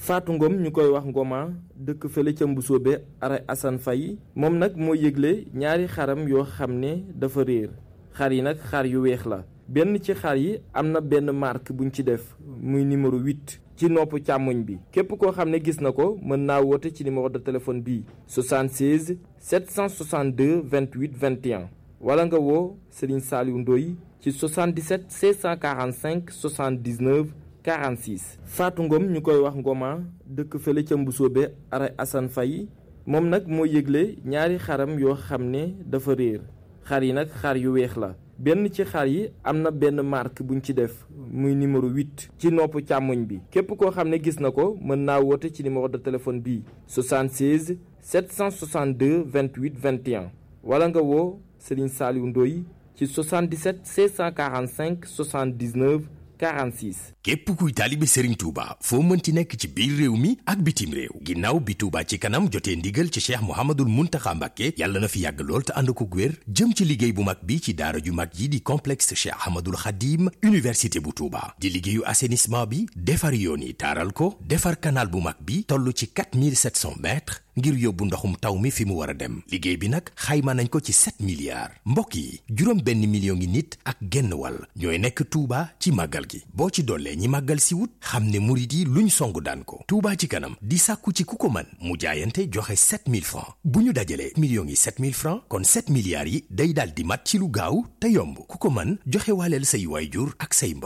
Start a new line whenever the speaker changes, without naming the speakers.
Fatou Ngom ñu koy wax Ngoma dëkk fële ca Mbusoobe ara Assane Faye moom nag moo yëgle ñaari xaram yoo xam ne dafa réer xar yi nag xar yu weex la benn ci xar yi am na benn marque buñ ci def muy numéro 8 ci nopp càmmoñ bi képp koo xam ne gis na ko mën naa woote ci numéro de téléphone bii 76 762 28 21 wala nga woo Serigne Saliou Ndoye ci 77 645 79 46 Fatou Ngom ñu koy wax Ngoma dëkk fële ca Mbusoobe ara Assane Faye moom nag moo yëgle ñaari xaram yoo xam ne dafa réer xar yi nag xar yu weex la benn ci xar yi am na benn marque buñ ci def muy numéro 8 ci nopp càmmoñ bi képp koo xam ne gis na ko mën naa woote ci numéro de téléphone bii 76 762 28 21 wala nga woo Serigne Saliou Ndoye ci 77 645 79 46.
képp kuy taalibe Serigne Touba foo mënti nekk ci biir réew mi ak bitim réew ginnaaw bi Touba ci kanam jotee ndigal ci Cheikh Mouhamadoul Mountakha Mbacké yàlla na fi yàgg lool te ànd ko wér jëm ci liggéey bu mag bi ci daara ju mag yi di complexe Cheikh Ahmadoul Khadim université bu Touba di liggéeyu assainissement bi defar yoon yi taaral ko defar canal bu mag bi toll ci 4700 mètres ngir yóbbu ndoxum taw mi fi mu war a dem liggéey bi nag xayma nañ ko ci 7 milliards mbokk yi juróom benn million ngi nit ak genn wàll ñooy nekk Touba ci màggal gi boo ci dollee ñi màggal si wut xam ne murit yi luñ song daan ko Touba ci kanam di sàkku ci ku ko mën mu jaayante joxe 7000 francs bu ñu dajalee millions yi 7000 francs kon 7 milliards yi day daal di mat ci lu gaaw te yomb ku ko mën joxe waaleel say waayjur ak say mbokk